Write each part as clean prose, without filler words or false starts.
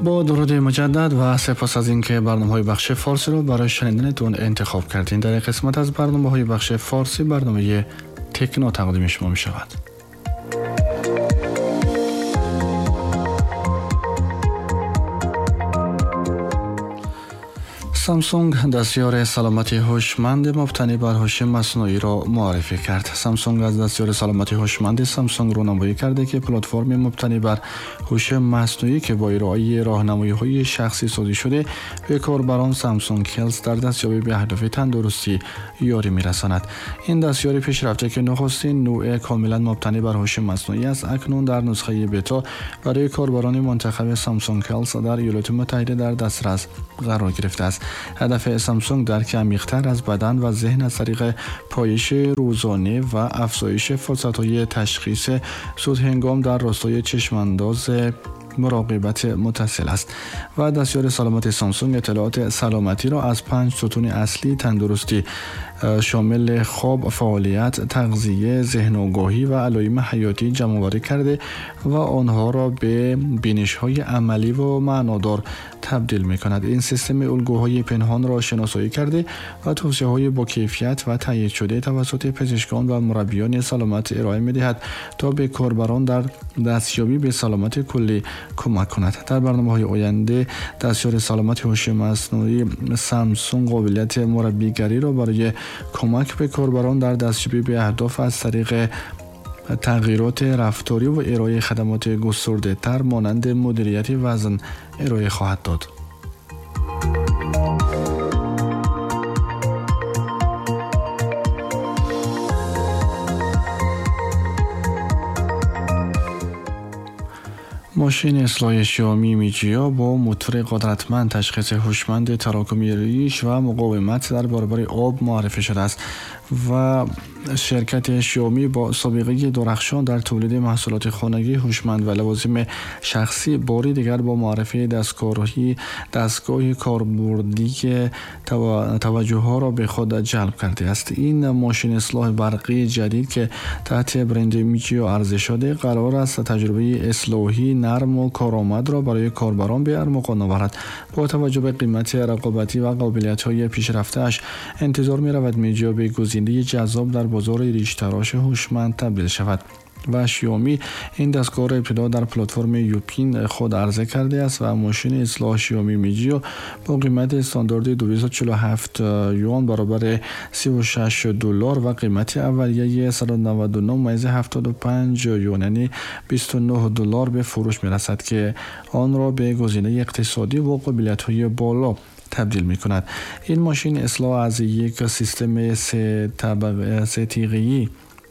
Бо дуруди муҷаддад ва сипос аз инки барномаҳои бахши форсиро барои шунидантон интихоб кардед. Дар ин қисмат аз барномаҳои бахши форсӣ барномаи Техно тақдими шумо мешавад. Самсунг дастёри саломати ҳушманд мабтанӣ бар ҳуши маснуиро муаррифӣ кард. Самсунг аз дастёри саломати ҳушманди Самсунг рӯнамоӣ карда ки платформи мабтанӣ бар ҳуши маснуӣ ки бо ироаи роҳнамоиҳои шахсӣ созӣ шуда ба корбарон Samsung Health дар дастёбӣ ба аҳдофи тандурустӣ ёрӣ мерасонад. Ин дастёри пешрафта ки нахустин навъи комилан мабтанӣ бар ҳуши маснуӣ аст, акнун дар нусхаи бета барои корбарони мунтахаби Samsung Health дар Иёлоти Муттаҳида дар дастрас қарор гирифтааст. Ҳадафи Самсунг дарки амиқтар аз бадан ва зеҳн аз тариқи пойиши рӯзона ва афзоиши фурсатҳои ташхиси зудҳангом дар ростаи чашмандоз муроқибат муттасил аст. Ва дастёри саломати Самсунг иттилооти саломатиро аз 5 сутуни аслии тандурустӣ шомили хоб, фаъолият, тағзия, зеҳногоҳӣ ва алоими ҳаётӣ ҷамъоварӣ карда ва онҳоро ба бинишҳои амалӣ ва маънодор табдил мекунад. Ин системи улгӯҳои пинҳонро шиносоӣ карда ва тавсияҳои бо кайфият ва тайид шуда тавассути пизишкон ва мураббиёни саломат ироа медиҳад то ба корбарон дар дастёбӣ ба саломати куллӣ кӯмак кунад. Дар барномаҳои оянда дастёри саломати ҳуши маснуӣ Самсунг қобилияти мураббигариро барои кӯмак ба корбарон дар дастёбӣ ба аҳдоф аз тариқи тағйироти рафторӣ ва ироаи хадамоти густурдатар монанди мудирияти вазн ироа хоҳад дод. Мошини ислоҳи Xiaomi Mijia бо мотори қудратманд, ташхиси ҳушманди тарокуми риш ва муқовимат дар баробари об муаррифӣ шудааст ва ширкати Xiaomi бо собиқаи дурахшон дар тавлиди маҳсулоти хонагӣ ҳушманд ва лавозими шахсӣ бори дигар бо муаррифии дастгоҳи корбурдӣ таваҷҷӯҳҳоро ба худ ҷалб кардааст. Ин мошини ислоҳи барқии ҷадид ки таҳти бренди Mijia арза шуда, қарор аст таҷрибаи ислоҳии нарм ва коромадро барои корбарон ба армуғон оварад. Бо таваҷҷӯҳ ба қимати рақобатӣ ва қобилиятҳои пешрафтааш интизор меравад Mijia ба гузинаи ҷаззоб дар бозори риштароши ҳушманд табдил шавад. Ва Xiaomi ин дастгоҳро ибтидо дар платформи Youpin худ арза кардааст ва мошини ислоҳ Xiaomi Mijia бо қимати стандарти 247 юан баробари $36 ва қимати аввалияи 199.75 юан яъне $29 ба фурӯш мерасад ки онро ба гузинаи иқтисодӣ ва қобилиятҳои боло табдил мекунад. Ин мошин ислоҳ аз як системи се тиғӣ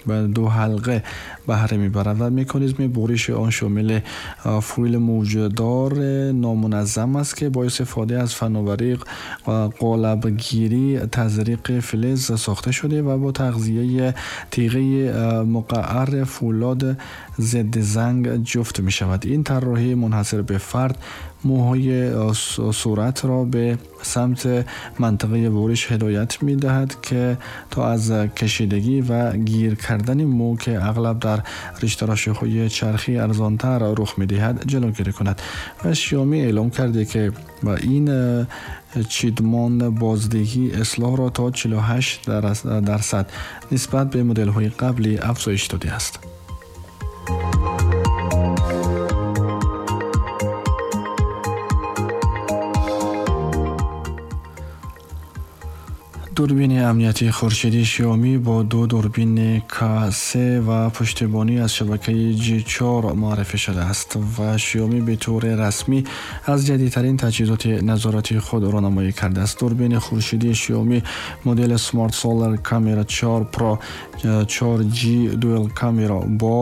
ва ду ҳалқа баҳра мебарад ва меканизми буриши он шомили фоили мавҷуддор номуназзам аст ки бо истифода аз фановарии қолабгирӣ тазриқи филиз сохта шуда ва бо тағзияи тиғаи муқаррар фӯлод зидди занг ҷуфт мешавад. Ин тарроҳии мунҳасир ба фард мӯҳои суратро ба самти мантиқаи буриш ҳидоят медиҳад ки то аз кашидагӣ ва гир кардани мӯ ки ағлаб дар риштарошиҳои чархӣ арзонтар рух медиҳад ҷилавгирӣ кунад. Ва Xiaomi эълом карда ки ин чидмон боздиҳии ислоҳро то 48% нисбат ба моделҳои қаблӣ афзоиш додааст. Дурбини амниятии хуршедии Xiaomi бо ду дурбини K3 ва пуштибонӣ аз шабакаи G4 муаррифӣ шудааст ва Xiaomi ба таври расмӣ аз ҷадидтарин таҷҳизоти назоратии худ рӯнамоӣ кардааст. Дурбини хуршедии Xiaomi модели Smart Solar Camera 4 Pro 4G Dual Camera бо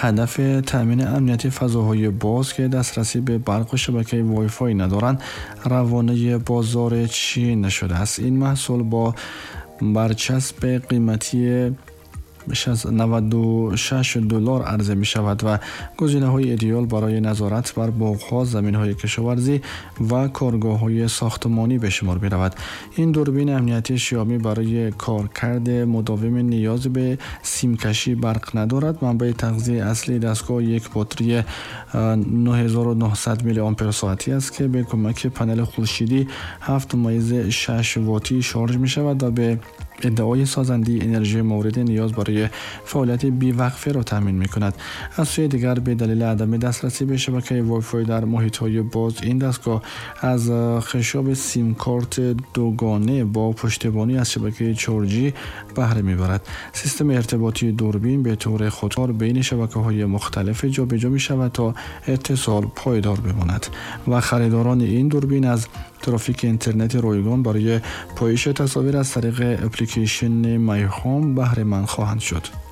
ҳадафи таъмини амнияти фазоҳои боз ки дастрасӣ ба барқу шабакаи Wi-Fi надоранд, равонаи бозори Чин шудааст. Ин маҳсул бо барчасби қиматии بیش از $96 عرضه می شود و گزینه های ایدئال برای نظارت بر باغ‌ها، زمین‌های کشاورزی و کارگاه‌های ساختمانی به شمار می رود. این دوربین امنیتی شیائومی برای کارکرد مداوم نیاز به سیمکشی برق ندارد. منبع تغذیه اصلی دستگاه یک باتری 9900 میلی آمپر ساعتی است که به کمک پنل خورشیدی 7.6 واتی شارژ می شود و به ادعای سازنده انرژی مورد نیاز برای فعالیت بی‌وقفه را تامین می‌کند. از سوی دیگر به دلیل عدم دسترسی به شبکه وای فای در محیط‌های باز، این دستگاه از خشاب سیم کارت دوگانه با پشتیبانی از شبکه 4G بهره می‌برد. سیستم ارتباطی دوربین به طور خودکار بین شبکه‌های مختلف جابجا می‌شود تا اتصال پایدار بماند و خریداران این دوربین از ترافیک اینترنت رایگان برای پایش تصاویر از طریق اپلیکیشن My Home بهره مند خواهند شد.